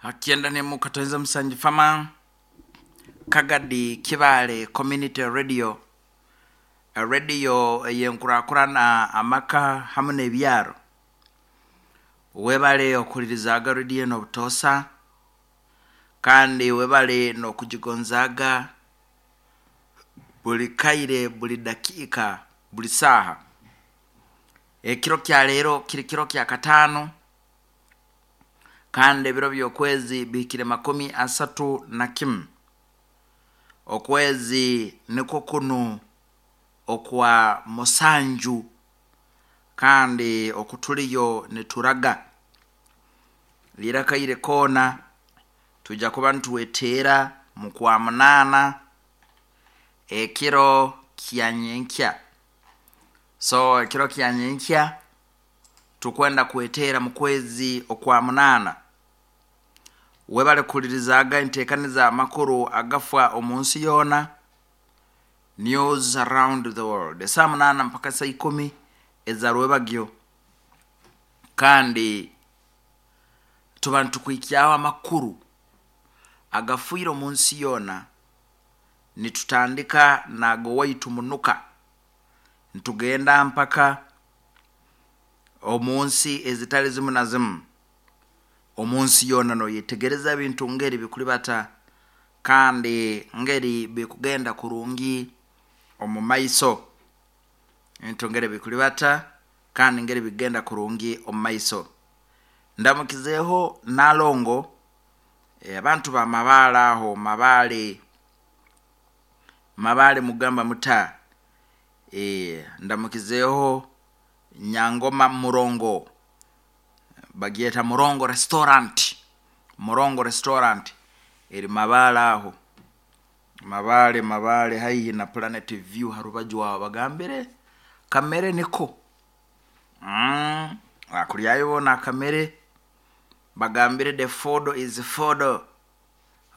Hakyenda nemu katonze musanju fama Kagadi Kibaale Community Radio, radio ey'enkurakurana amaka hamu n'ebyaro. Webale okuhulirizaaga radio enu obutoosa kandi webale n'okugigonzaaga buli kaire, buli dakiika, buli saaha. Ekiro kya leero kiri kiro kya kataano kandi ebiro by'okwezi bihikire 31. Okwezi nikwo kunu okwa musanju kandi okutuliyo nituraga. Lira akaire koona twija kuba nitweteera mu kwa munaana ekiro kya nyenkya. So ekiro kya nyenkya tukwenda kweteera mu kwezi okwa munaana. Webale kuhulirizaaga enteekaniza amakuru agafa omu nsi yoona, News Around the World, esaaha munaana mpaka saa ikumi eza rwebagyo. Kandi tuba nitukuhikyaho amakuru agafiire omu nsi yoona, nitutandika n'ag'owaitu munuka, nitugenda mpaka omu nsi ezitali zimu na zimu. Omu nsi yoona noyetegereza ebintu ngeri bikuribata kandi ngeri bikugenda kurungi omu maiso. Ebintu ngeri bikuribata kandi ngeri bikugenda kurungi omu maiso. Ndamukizeeho Nalongo, abantu ba Mabaale aho, Mabaale, Mabaale mugamba muta? Ndamukizeeho Nyangoma Murongo, bagyeta Murongo Restaurant, Murongo Restaurant eri Mabaale aho, Mabaale Mabaale haihi na Planet View ha rubaju aho bagambire kamere niko. Wakuryayo boona akamere bagambire the food is food.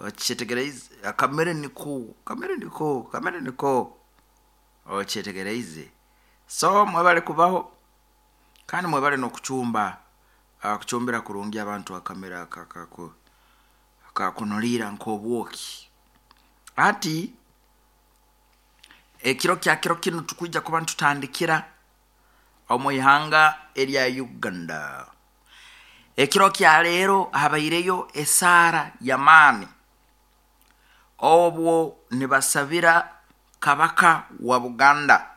Okyetegereize? Akamere niko, akamere niko, akamere niko. Okyetegereize? So mwebale kubaho kandi mwebale n'okucumba, kucumbira kurungi abantu akamere akakunuliira nk'obwoki. Hati ekiro kya kiro kinu tukwija kuba nitutandikira omu ihanga erya Uganda. Ekiro kya leero habaireyo esaara y'amaani obwo nibasabira Kabaka wa Buganda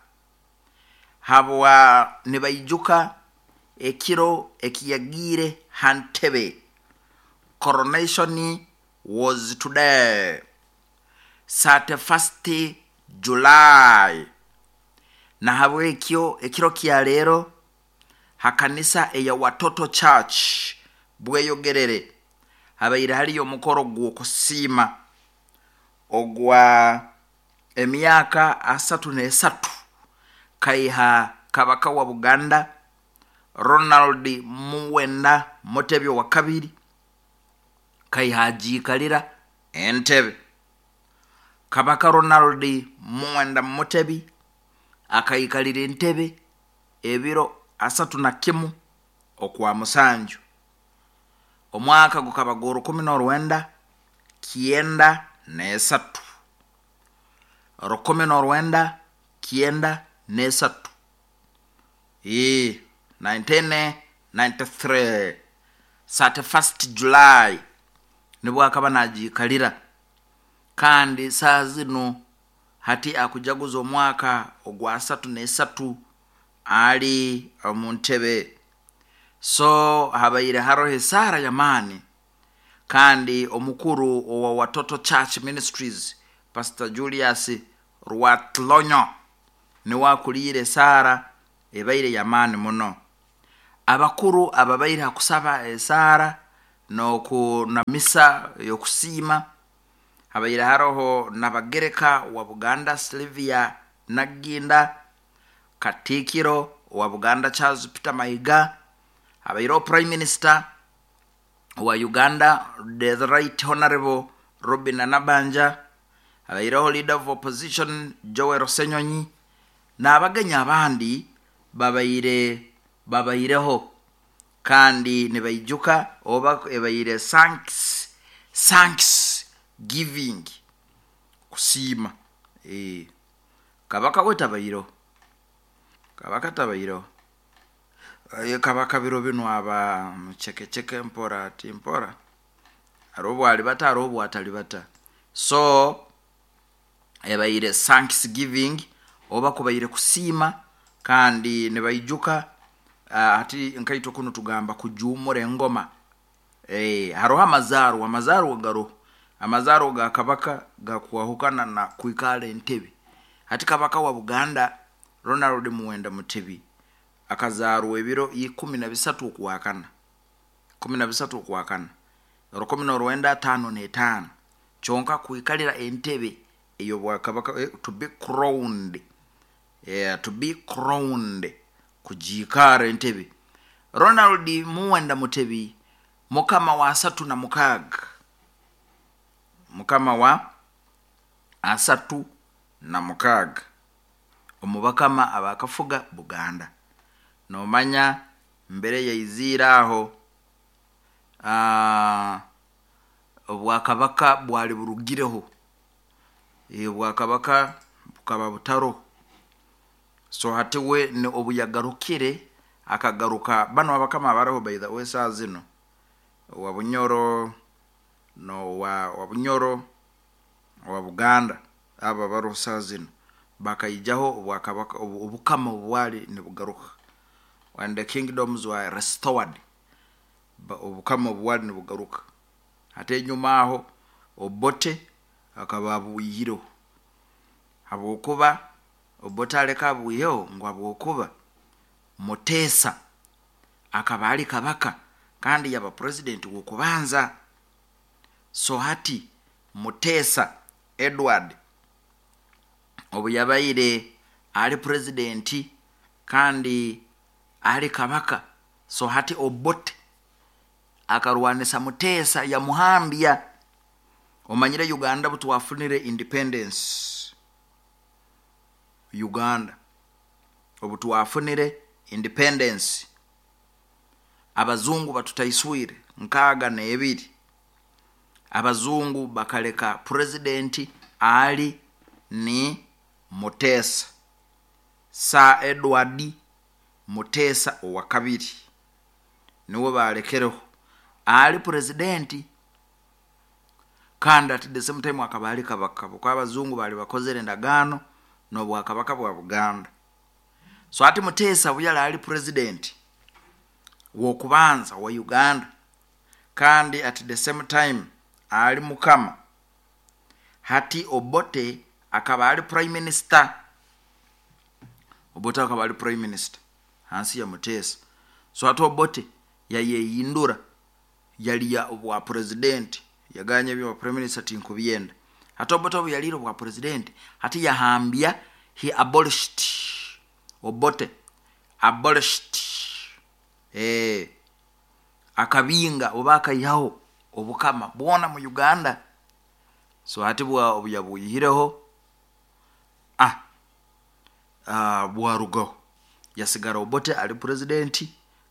habwa nibaijuka ekiro ekiyagiire ha ntebe. Coronation was today, 31st July. Nahabwekyo ekiro kya leero ha kanisa eya Watoto Church Bweyogerere habaire hariyo omukoro gw'okusiima ogwa emyaka 33 kaiha Kabaka wa Buganda Ronald Muwenda Mutebi owakabiri kaiha agiikalira entebe. Kabaka Ronald Muwenda Mutebi akaikalira entebe ebiro 31 okwa musanju. Omwaka gukaba gw'orukumi n'orwenda kyenda n'esatu. 1993. Ii, 1993, 31st July nibwo akaba nagiikalira kandi saaha zinu hati akujaguza omwaka ogwa 33 ali omu ntebe. So habaire haroho esaara y'amaani kandi omukuru owa Watoto Church Ministries Pastor Julius Rwatlonyo niwe akuliire esaara ebaire y'amaani muno. Abakuru ababaire ha kusaba esaara n'oku na misa ey'okusiima habaire haroho Nabagereka wa Buganda Sylvia Nagginda, Katiikiro owa Buganda Charles Peter Mayiga, habaireho Prime Minister owa Uganda the Right Honourable Robinah Nabbanja, habaireho Leader of Opposition Joel Ssenyonyi n'abagenyi abandi babaire babaireho kandi nibaijuka oba ebaire thanks. Thanks giving, kusiima. Kabaka we tabaireho, kabaka tabaireho. Kabaka biro binu aba mucekeceke mpora ati mpora, haroho obu alibata, haroho obu atalibata. So ebaire thanks giving oba kubaire kusiima, kandi nibaijuka hati nkaitwe kunu tugamba kujuumura engoma. Haroho amazaarwa, amazaarwa garoho, amazaarwa ga kabaka gakwahukana na kwikara entebe. Hati kabaka wa Buganda Ronald Muwenda Mutebi akazaarwa ebiro 13 Okwakana, 13 Okwakana 1955. Kyonka kwikalira entebe ey'obwakabaka, to be crowned, yeah, to be crowned, kugiikara entebe, Ronald Muwenda Mutebi mukama wa 36, mukama wa 36 omu bakama abakafuga Buganda. Nomanya mbere yaiziire aho, obwakabaka bwali burugireho, obwakabaka bukaba butaroho. So hati we obu yagarukire, akagaruka banu abakama abaroho, by the way, saa zinu owa Bunyoro nowa wa Bunyoro, owa Buganda, abo abaroho saa zinu bakaijaho obwakabaka, obukama obwali nibugaruka, when the kingdoms were restored, obukama obwali nibugaruka. Hati enyuma aho Obote akaba abwihireho, habwokuba Obote aleka abwiheho ngu habwokuba Muteesa akaba ali kabaka kandi yaba president w'okubanza. So hati Muteesa Edward obu yabaire ali president kandi ali kabaka, so hati Obote akarwanisa Muteesa yamuhambya. Omanyire Uganda butwafunire independence, Uganda obu twafunire independence, abazungu batutaiswire 62, abazungu bakaleka president ali ni Muteesa, Sir Edward Muteesa owa kabiri, niwe balekereho ali president, kandi at the same time akaba ali kabaka, habwokuba abazungu bali bakozere endagaano n'obwakabaka bwa Buganda. So hati Muteesa obu yali ali president w'okubanza wa Uganda kandi at the same time ali mukama, hati Obote akaba ali prime minister, Obote akaba ali prime minister hansi ya Muteesa. So hati Obote yayehindura, yalya obwa president, yaganya ebya prime minister tinkubyenda. Hati Obote obu yaliire obwa president, hati yahambya, he abolished, Obote abolished, akabinga oba akaihaho obukama bwona mu Uganda. So hati obu yabwihireho, bwarugaho, yasigara Obote ali president,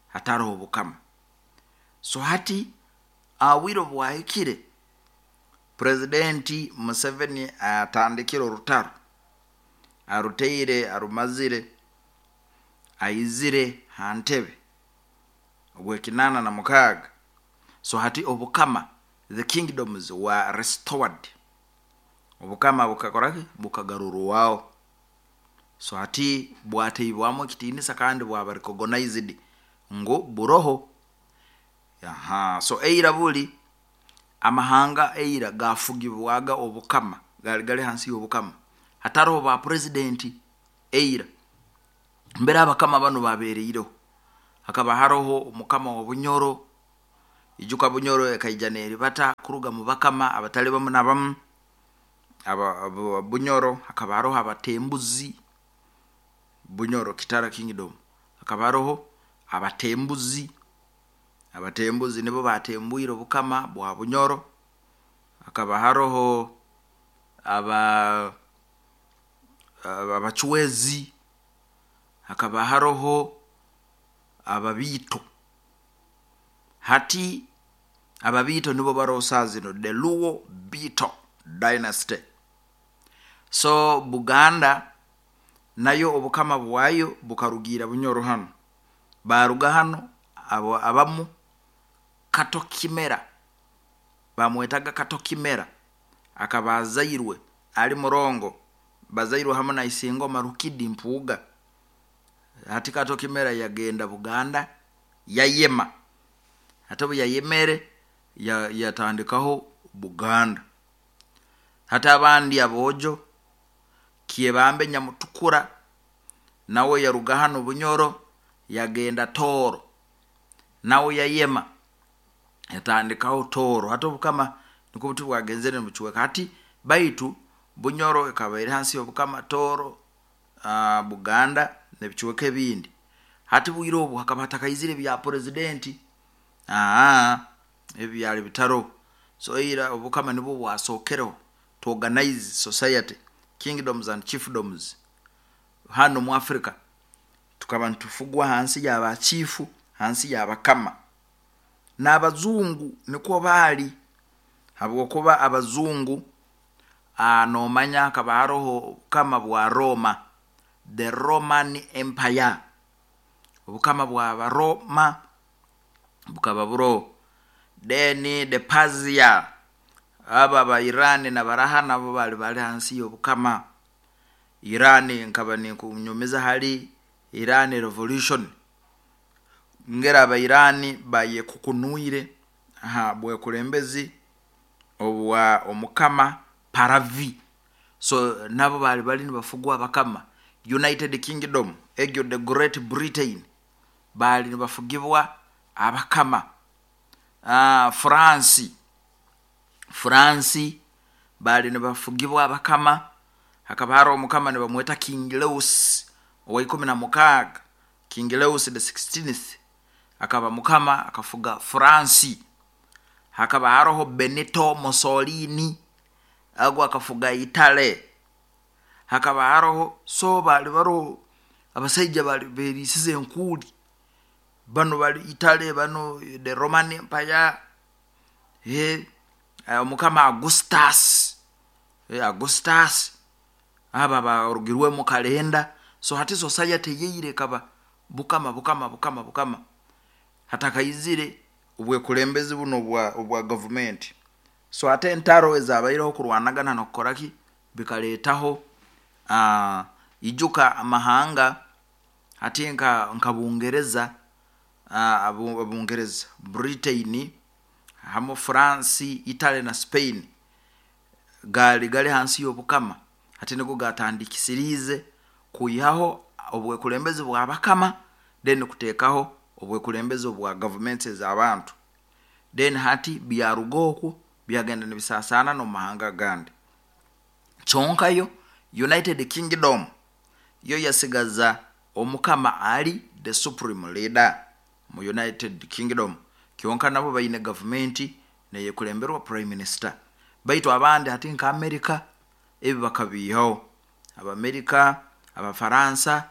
hataroho obukama. So hati obwire obu bwahikire, president Museveni atandikire orutaro, aruteire, arumazire, aizire ha ntebe ogw'86. So hati obukama, the kingdoms were restored, obukama bukakoraki, bukagarurwaho. So hati bwateibwamu ekitiinisa kandi bwaba recognized ngu buroho. Aha, so eira buli amahanga eira gafugibwaga obukama, gali gali hansi y'obukama, hataroho ba president. Eira mbere abakama banu babereireho, hakaba haroho omukama wa Bunyoro. Ijuka Bunyoro ekaija neribata kuruga mu bakama abatali bamu na bamu. Aba Bunyoro hakaba haroho abatembuzi, Bunyoro Kitara Kingdom hakaba haroho abatembuzi, abatembuzi nibo batembwire obukama bwa Bunyoro. Hakaba haroho abacwezi, hakaba haroho ababiito. Hati Ababiito nibo baroho saaha zinu, the Luo Bito dynasty. So Buganda nayo obukama bwayo bukarugiira Bunyoro hanu. Baaruga hanu abo abamu Kato Kimera, bamwetaga Kato Kimera, akaba azairwe ali murongo, bazairwe hamu na Isingoma Rukidi Mpuuga. Hati Kato Kimera yagenda Buganda yayema. Hati obu yayemere yatandikaho Buganda. Hati abandi aboojo, Kyebambe Nyamutukura nawe yaruga hanu Bunyoro yagenda Tooro, nawe yayema yatandikaho Tooro. Hati obukama nukwo buti bwagenzere nibucweka. Hati baitu Bunyoro ekaba eri hansi y'obukama, Tooro, Buganda n'ebicweka ebindi. Hati bwire obu hakaba hatakaizire ebya purezidenti, ebi byali bitaroho. So ira obukama nibwo bwasookereho to organize society, kingdoms and chiefdoms. Hanu mu Africa tukaba nitufugwa hansi y'abachiifu, hansi y'abakama. N'abazungu nikwo baali, habwokuba abazungu noomanya hakaba haroho obukama bwa Rooma, the Roman Empire. Obukama bw'Abarooma bukaba buroho. Then the Persia, abo aba Iran nabaraha nabo baali bali hansi y'obukama. Iran nkaba ninkunyumiza hali Iran revolution, ngeri aba Iran bayekukunwire ha bwekulembezi obwa omukama Paravi. So nabo baali bali nibafugwa abakama. United Kingdom, egyo the Great Britain, baali nibafugibwa abakama. France, France baali nibafugibwa abakama. Hakaba haroho omukama nibamweta King Lewis owa 16, King Lewis the 16th, akaba mukama akafuga France. Hakaba haroho Benito Mussolini, agu akafuga Italy. Hakaba haroho, so baali baroho abasaija baali beriisize enkuuli, banu bali Italy, banu the Roman Empire, omukama Augustus, Augustus, abo abarugirwemu kalenda. So hati society eyaira ekaba bukama, bukama, bukama, bukama, hatakaizire obwekulembezi bunu obwa gavumenti. So ate entaro ezabaireho kurwanagana n'okukora ki bikaleetaho, ijuka amahanga hati nka Bungereza, Bungereza, Britain hamu France, Italy na Spain gaali gali hansi y'obukama. Hati nigo gaatandikisiriize kwihaho obwekulembezi bw'abakama then kuteekaho obwekulembezi obwa gavumenti ez'abantu. Then hati byaruga oku byagenda nibisaasaana n'omu mahanga agandi. Kyonka yo United Kingdom yo yasigaza omukama ali the supreme leader mu United Kingdom. Kyonka nabo baine gavumenti neyekulemberwa prime minister. Baitu abandi hati nka America ebi bakabiihaho. Abamerika, Abafaransa,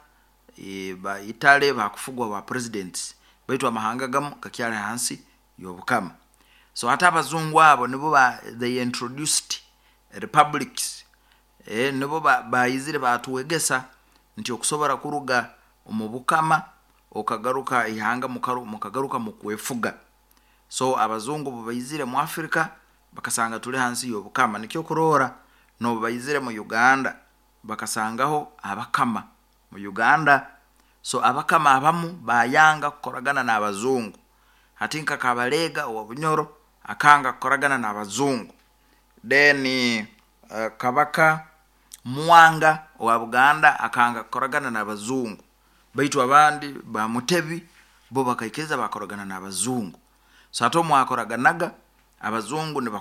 ba Italy bakufugwa ba presidents, baitu amahanga agamu gakyali hansi y'obukama. So hati abazungu abo nibo they introduced republics, nibo baizire batwegesa nti okusobora kuruga omu bukama okagaruka ihanga mukagaruka mukwefuga. So abazungu obu baizire mu Africa bakasanga tuli hansi y'obukama. Nikyo kuroora n'obu baizire mu Uganda bakasangaho abakama mu Uganda. So abakama abamu bayanga kukoragana n'abazungu. Hati nka Kabalega owa Bunyoro akanga kukoragana n'abazungu. Then Kabaka Mwanga owa Buganda akanga kukoragana n'abazungu. Baitu abandi ba Mutebi bo bakaikiriza bakoragana n'abazungu. So hati obu mwakoraganaga abazungu niba